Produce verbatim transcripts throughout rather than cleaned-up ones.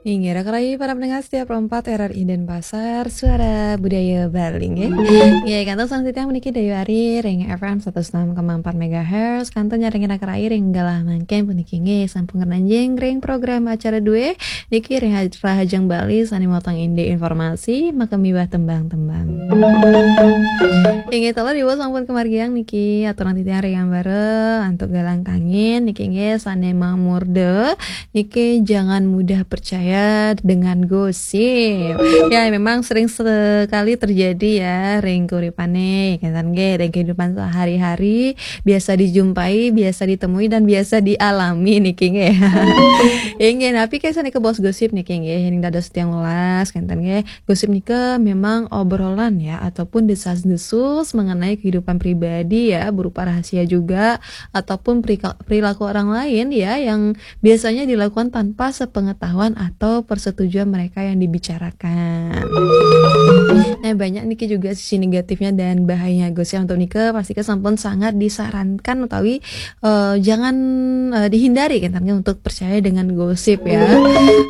Inggih, raka rayi para pendengar setia Pro empat R R I Denpasar, Suara Budaya Bali, nggih. Nggih, kantun selanjutnya puniki Dayu Ari ring F M satus enam koma empat megahertz, kantun nyarengin raka rayi ring galah mangkin puniki, nggih, sampun ngranjing ring program acara due, niki ring Haj-, Rahajeng Bali sane motong indik informasi, maka miwah tembang-tembang. Inggih, taler ibu sampun kemargiang niki, aturan titiang ring ambara antuk galang kangin, niki nggih sane mamurda, niki jangan mudah percaya dengan gosip. Ya, memang sering sekali terjadi ya, ring keuripane, kenten nggih, ring kehidupan sehari-hari, biasa dijumpai, biasa ditemui, dan biasa dialami niki nggih. Inggih, napi ke sane kebos gosip niki nggih, ring dados tiang welas, kenten nggih. Gosip nika memang obrolan ya, ataupun desas-desus mengenai kehidupan pribadi ya, berupa rahasia juga, ataupun perika-, perilaku orang lain ya, yang biasanya dilakukan tanpa sepengetahuan atau persetujuan mereka yang dibicarakan. Nah, banyak niki juga sisi negatifnya dan bahayanya gosip. Untuk nika, pasti ke sampun sangat disarankan utawi, eh, jangan, eh, dihindari kenten nggih untuk percaya dengan gosip ya.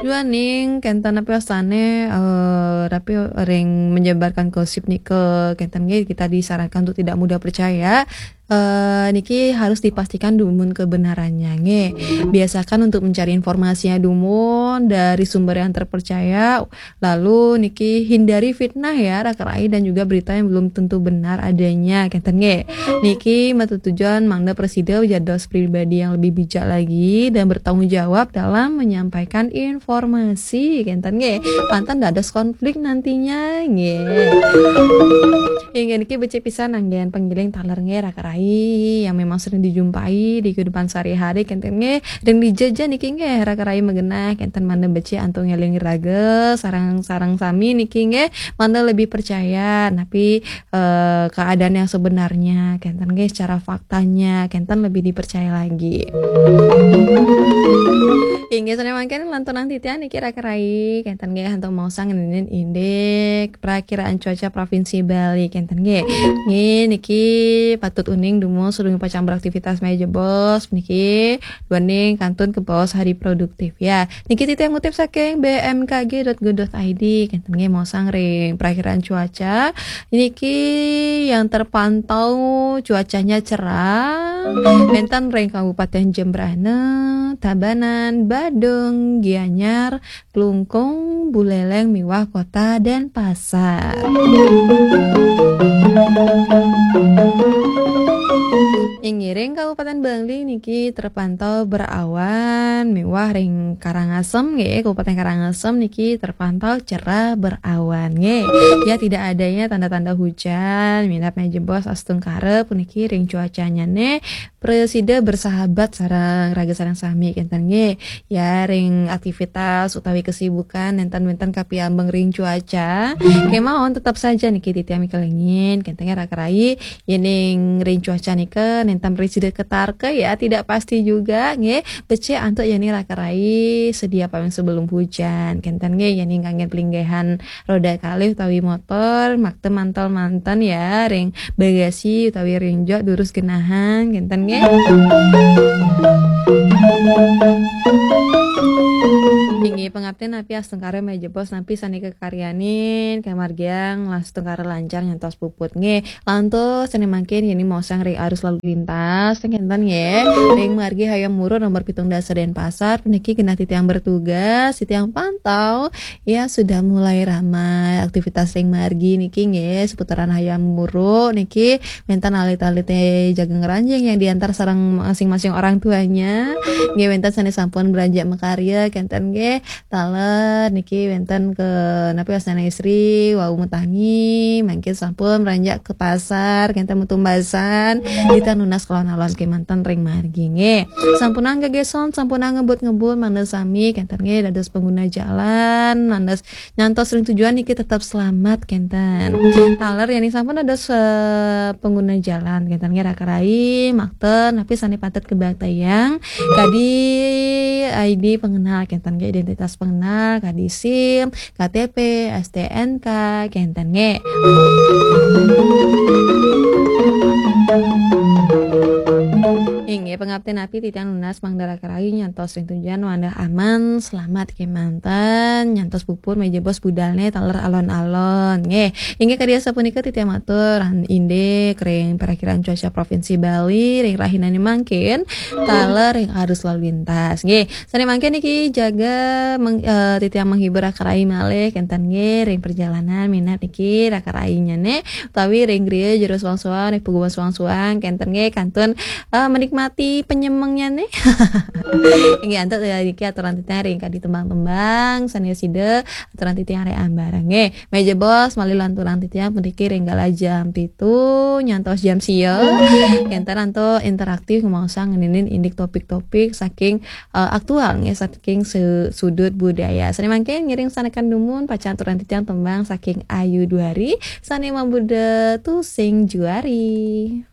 Duaning kenten napi wastane, eh, napi ring menyebarkan gosip nika, kenten nggih kita disarankan untuk tidak mudah percaya. Eh, niki harus dipastikan dumun kebenarannya nggih. Biasakan untuk mencari informasinya dumun dari sumber yang terpercaya. Lalu niki hindari fitnah ya, raka rayi, dan juga berita yang belum tentu benar adanya, kenten nggih. Niki matetujon mangda prasida dados pribadi yang lebih bijak lagi dan bertanggung jawab dalam menyampaikan informasi, kenten nggih. Pantun dados konflik nantinya, nggih. Inggih niki becik pisan anggen panggiling taler nggih, raka rayi, yang memang sering dijumpai di kehidupan sehari-hari, kenten nggih. Dan dijaja niki nggih, raka rayi magenah, kenten mangda becik antuk ngeling raga, sareng-sareng sami niki nggih, mangda lebih percaya, napi, eh, keadaan yang sebenarnya, kenten nggih, secara faktanya, kenten lebih dipercaya lagi. Inggih, sane mangkin lanturang titiang niki raka rayi, kenten nggih, antuk maosang ngenenin indik prakiraan cuaca Provinsi Bali, kenten nggih. Nggih, niki patut uning dumun sadurung pacang beraktivitas malih jebos, niki duaning kantun kebaos hari produktif ya. Niki titiang ngutip saking B M K G dot go dot I D, kenten nggih, maosang ring prakiraan cuaca. Niki yang terpantau cuacanya cerah. Wenten ring Kabupaten Jembrana, Tabanan, Badung, Gianyar, Klungkung, Buleleng miwah Kota Denpasar. Inggih ring Kabupaten Bali niki terpantau berawan miwah ring Karangasem nggih, Kabupaten Karangasem niki terpantau cerah berawan nggih. Ya, tidak adanya tanda-tanda hujan, minab malih jebos astungkara puniki ring cuacanyane prasida bersahabat sareng raga sareng sami kenten nggih. Ya, ring aktivitas utawi kesibukan nenten-nenten kapiambeng ring cuaca. Kemawon tetep saja niki titiang mikelingin, kenten nggih raka rayi, yening ring cuaca nika nenten prasida ketarka ya, tidak pasti juga nggih. Becik antuk yening raka rayi sedia payung sebelum hujan, kenten nggih, yening kangge pelinggihan roda kalih utawi motor, makta mantol manten ya, ring bagasi utawi ring jok durus genahang, kenten nggih. Inggih pangaptin napi astungkara malih jebos napi sane kakaryanin kamargiang astungkara lancar nyantos puput nggih. Lantas sane mangkin yening maosang ring arus lalu lintas, kenten nggih. Ring margi Hayam Wuruk nomor pitung dasa Denpasar, puniki genah titiang bertugas, titiang pantau ya, sudah mulai ramai aktivitas ring margi niki nggih, seputaran Hayam Wuruk niki wenten alit-alite jaga ngranjing yang diantar sareng masing-masing orang tuanya. Nggih, wenten sane sampun beranjak makarya, kenten nggih. Taler niki wenten ke napi wastane istri, wau matangi, mangkin sampun beranjak ke pasar, kenten metumbasan, kita nunas kelawan alon kemanten ring margi nggih. Sampunang gegeson, sampunang ngebut-ngebut, mangda sami kenten nggih dados pengguna jalan, mangda nyantos ring tujuan niki tetap selamat kenten. Taler yening sampun dados, eh, pengguna jalan kenten nggih raka rayi, makta napi sane patut kabaktayang, kadi I D pengenal kenten nggih, identitas pengenal, kadi SIM, K T P, S T N K, kenten nggih. Inggih. Ya, pangabdi napi titiang nunas mangda raka rai nyantos ring tujuan wantah aman, selamat kemanten, nyantos puput meja bos budalne taler alon-alon. Nggih, inggih kadi asapunika titiang matur, ran-, indik ring parakiraan cuaca Provinsi Bali, ring rahinane mangkin, taler ring arus lalu lintas. Nggih, sane mangkin niki jaga meng-, eh, titiang menghibur raka rai malih, kenten nggih, ring perjalanan minab niki raka rainyane, utawi ring griya jero suang-suang, ring paguman suang-suang, kenten nggih, kantun eh, menikmati penyemengnya nih. Inggih, antuk, eh, niki aturan titiang ring kadi tembang-tembang sane sida aturan titiang ring ambarang nggih. Meja bos malih lanturan titiang puniki ring galah jam pitu nyantos jam sia. Kenten antuk interaktif ngemaosang ngeninin indik topik-topik saking, eh, aktual nggih, saking se-, sudut budaya. Sane mangkin ngiring sanekan dumun pacang aturan titiang tembang saking Ayu Duari sane mabudha Tusing Juari.